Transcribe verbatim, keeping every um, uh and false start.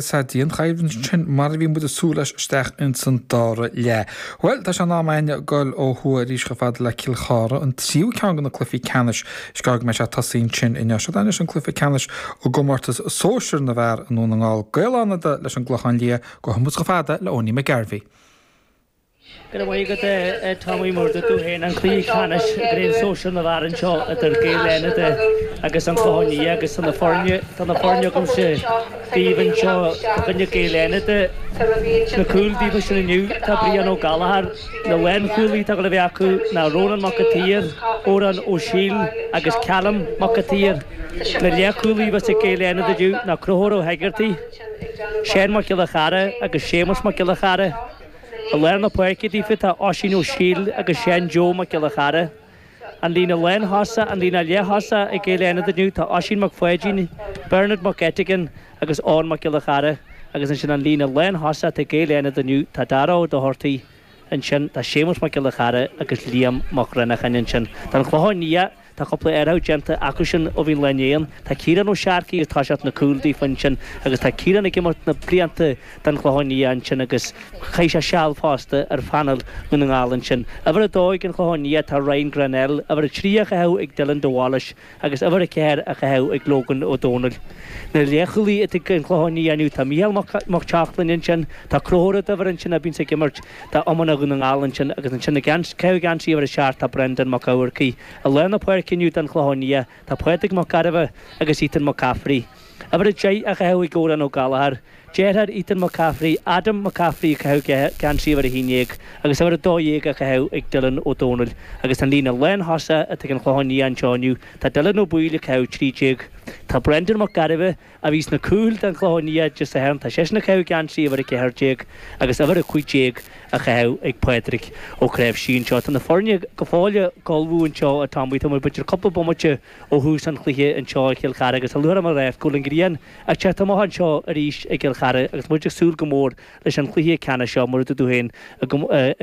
Sa dianchoimhlint sin mar a bhí muid ag súil leis isteach ins an dara leath. Bhuel, tá sé in am againn dul ó thuaidh arís chomh fada le Cill Chartha, an tríú ceann de na cluichí ceannais is gá go mbeidh sé ag tosaí ansin inniu. Seo anois an cluiche ceannais i gcomórtas sóisir na bhfear i nDún na nGall. Gaeil Fhánada leis an gClochán Liath, gabhfaidh muid chomh fada le Owenie McGarvey. Go raibh maith agat a Tommy mar a dúirt tú féin an cluiche ceannais i gCraobh Sóisir na bhFear anseo idir Gaeil Fhánada agus an Clochán Liath agus tá na foirne tá na foirne agamsa daoibh anseo fá choinne Gaeil Fhánada sna cúil daofa sin inniu tá Brian Ó Gallchóir na lánchúlaithe atá le bheith acu ná Rónán Mac an tSaoir, Odhrán Ó Siail agus Callum Mac an tSaoir. Na leathchúlaithe a bheas ag Gaeil Fhánada inniu ná Conchúr Ó hEigeartaigh, Seán Mac Giolla Chara agus Séamus Mac Giolla Chara. I lár na páirce daofa tá Oisín Ó Siail agus Seán Joe Mac Giolla Chara. An líne lánthosach, an líne leath-thosach ag Gaeil Fhánada inniu tá Oisín Mac Pháidín, Bernard Mac Eitigan agus Eoin Mac Giolla Chara agus ansin an líne lánthosach atá ag Gaeil Fhánada inniu tá Dara Ó Dochartaigh ansin, tá Séamus Mac Giolla Chara agus Liam Mac Rannacháin ansin. Don Chlochán Liath Tá cúpla athrú déanta acu sin ó bhí an lá inné ann. Tá Ciarán Ó Searcaigh ag toiseacht na cúil daofa ansin agus tá Ciarán ag imirt na blianta don Chlochán Liath ansin agus chaith sé seal fosta ar phainéal Dhún na nGall ansin. Uimhir a dó ag an Chlochán Liath tá Ryan Grennell, uimhir a trí á chaitheamh ag Dylan de Bhailís agus uimhir a ceathair á chaitheamh ag Logan Ó Dónaill. Na leathchúlaithe atá ag an Chlochán Liath inniu tá Mícheál Mac Seachlainn ansin, tá Conchúr Ó Duibhir ansin a bhíonns ag imirt d'iomána Dhún na nGall ansin agus ansin ag caitheamh geansaí uimhir a seacht tá Brendan Mac Eamharcaigh. I lár na páirce inniu don Chlochán Liath tá Pádraig Mac Gairbheith agus Ethan McCaffrey. Uimhir a deich á chaitheamh ag Odhrán Ó Gallchóir, deartháir Ethan McCaffrey, Adam McCaffrey ag caitheamh geansaí uimhir a haon déag agus uimhir a dó dhéag á chaitheamh ag Dylan Ó Dónaill. Agus an líne lánthosach atá ag an Chlochán Liath anseo inniu tá Dylan Ó Baoill ag caitheamh trí déag, tá Brendan Mac Gairbheith, a bhí sna cúil don Chlochán Liath Dé Sathairn, tá seisean ag caitheamh geansaí uimhir a ceathair déag agus uimhir a cúig déag á chaitheamh ag Pádraig Ó Cnáimhsí anseo. Tá na foirne go fóill ag ullmhú anseo a Tommy, tá muid b'fhéidir cúpla bomaite ó thús an chluiche anseo i gCill Chartha agus a luaithe mar a go bhfuil an ghrian ag teacht amach anseo arís i gCill Chartha agus muid ag súil go mór leis an chluiche ceannais seo mar a dúirt tú féin i